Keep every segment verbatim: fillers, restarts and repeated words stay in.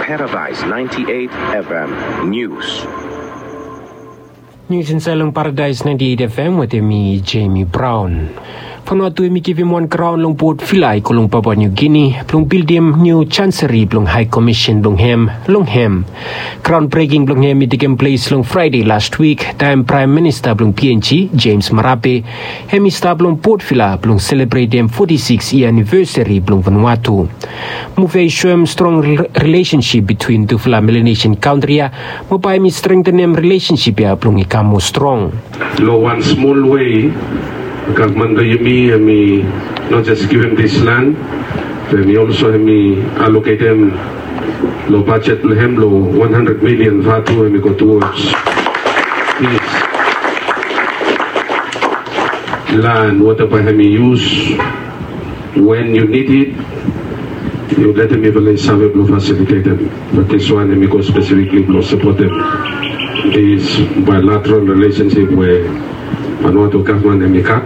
Paradise ninety-eight F M News. Nius insaed long Paradise ninety-eight F M wetem mi, Jamie Brown. Vanuatu hemi givim wan graon long Port Vila i go long Papua New Guinea blong bildim niu Chancery blong High Commission blong hem long hem. Graon breking blong hem i tekem ples long Fraede las wik, taem Praem Minista blong P N G, James Marape, hemi stap long Port Vila blong selebretem foti sikis yia anivesari blong Vanuatu. Muv ia i soem strong rel-, rilesensip bitwin tufala Melanesian kantri ia, mo bae hemi strengtenem rilesensip ia blong i kam moa strong. Long wan smol wei, gavman blong yumi hemi not just givim this land, be hemi also hemi allocatem long bajet blong hem long wan handred milian vatu hemi go towards this land, wetem bae hemi yus when you need it, yu letem mifala i save blong fasilitetem. Bat this one hemi go spesifikli blong sapotem this bilateral relationship we Vanuatu gavman hemi gat,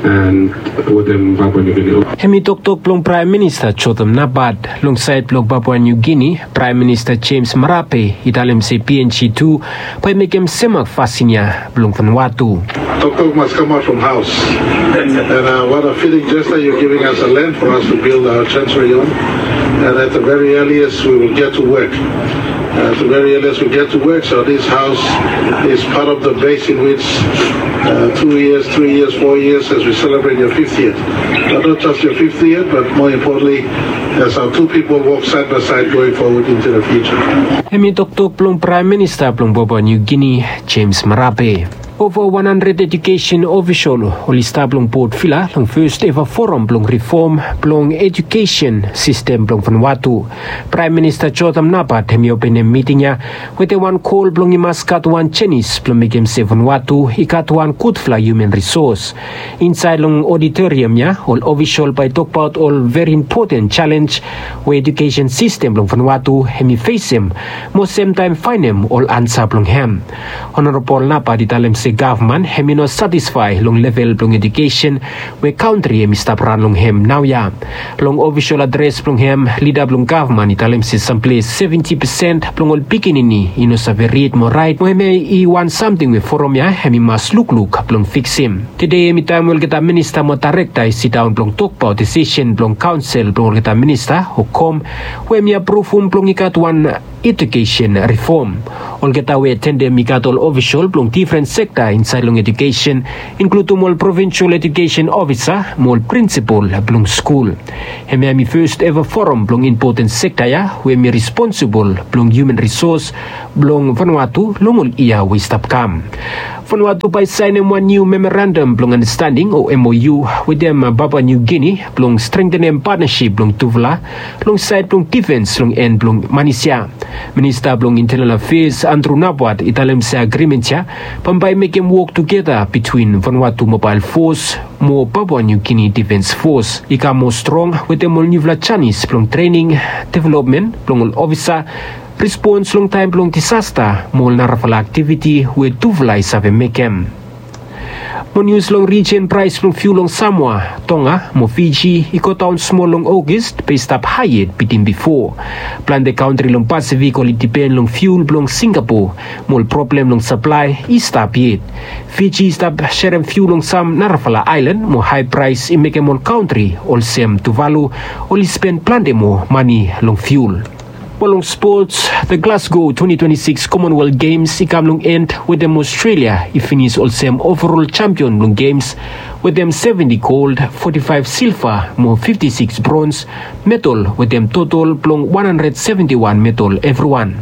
and wetem Papua New Guinea. Hemi toktok blong Praem Minista Jotham Napat. Long saed blong Papua New Guinea, Praem Minista James Marape i talem se P N G tu bae i mekem semak fasin ia blong Vanuatu. Toktok must come out from house. And, uh, what a fitting gesture, you're giving us a land for us to build our chancery on. And at the very earliest, we will get to work. Uh, at the very earliest, we get to work. So this house is part of the base in which, uh, two years, three years, four years, as we celebrate your fiftieth. But not just your fiftieth, but more importantly, as our two people walk side by side going forward into the future. Hemi toktok blong Praem Minista blong Papua New Guinea, James Marape. Ova wan handred ejukesen ofisol oli stap long Port Vila long fes eva foram blong rifom blong ejukesen sistem blong Vanuatu. Praem Minista Jotham Napat hemi openem miting ia wetem wan kol blong i mas gat wan jenis blong mekem se Vanuatu i gat wan gudfala human risos. Insaed long oditoriam ia, ol ofisol bae i tokbaot ol veri impoten jalenj we ejukesen sistem blong Vanuatu hemi fesem, mo semtaem faenem ol ansa blong hem. Honorabol Napat i talem se gavman hemi no satisfae long level blong ejukesen we kantri hemi stap ran long hem naoia. Long ofisol adres blong hem, lida blong gavman i talem se samples seventi pesen blong ol pikinini i no save rid mo raet, mo hemia i wan samting we foram ia hemi mas lukluk blong fiksim. Tede hemi taem we olgeta minista mo daerekta i sidaon blong tokbaot desisen blong kaonsel blong olgeta minista o kom, we hemi apruvum blong i gat wan ejukesen rifom. Olgeta we atendem i gat ol ofisol blong difren sekta insaed long ejukesen, inkludum ol provinsol ejukesen ofisa mo ol prinsipol blong skul. Hemia hemi fes eva foram blong impoten sekta ia we hemi responsibol blong human risos blong Vanuatu long ol yia we i stap kam. Vanuatu bae i saenem wan niu memorandam blong andastanding o M O U wetem Papua New Guinea blong strengtenem patnasip blong tufala long saed blong difens long en blong manis ia. Minista blong Intenal Afeas, Andrew Napat, i talem se agrimen ia bambae i mekem wok tugeta bitwin Vanuatu Mobael Fos mo Papua New Guinea Difens Fos i kam moa strong wetem ol niufala janis blong trening, developmen blong ol ofisa, respons long taem blong disasta mo ol narafala aktiviti we tufala i save mekem. Mo nius long rijen, praes blong fiul long Samoa, Tonga mo Fiji i godaon smol long Ogos, be i stap hae yet bitim bifo. Plante kantri long Pasifik oli dipen long fiul blong Singapo, mo ol problem long saplae i stap yet. Fiji i stap serem fiul long sam narafala aelan, mo hae praes i mekem ol kantri olsem Tuvalu oli spen plante moa mane long fiul. Mo long spots, the Glasgow twenty twenty-six Commonwealth Games i kam long en wetem Australia i finis olsem overall champion blong Games wetem seventy gold, forty-five silver mo fifty-six bronze medal wetem total blong one hundred seventy-one medal evriwan.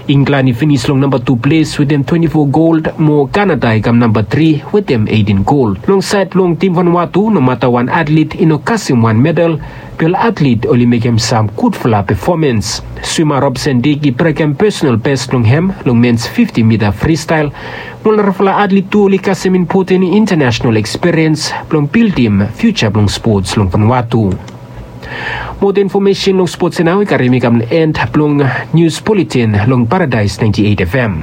England i finis long namba tu ples wetem twenty-four gold, mo Canada i kam namba tri wetem eighteen gold. Long saed blong tim Vanuatu, nomata wan atlet i no kasem wan medal, be ol atlet oli mekem sam gudfala pefomans. Swima Robson Dick i brekem pesonal bes blong hem long mens fifti mita fristael, mo ol narafala atlet tu oli kasem impoten intanasenal ekspiriens blong bildim fiuja blong spots long Vanuatu. Moa infomesen long spots ia nao i karem mi kam long en blong nius buletin long Paradise ninety-eight F M.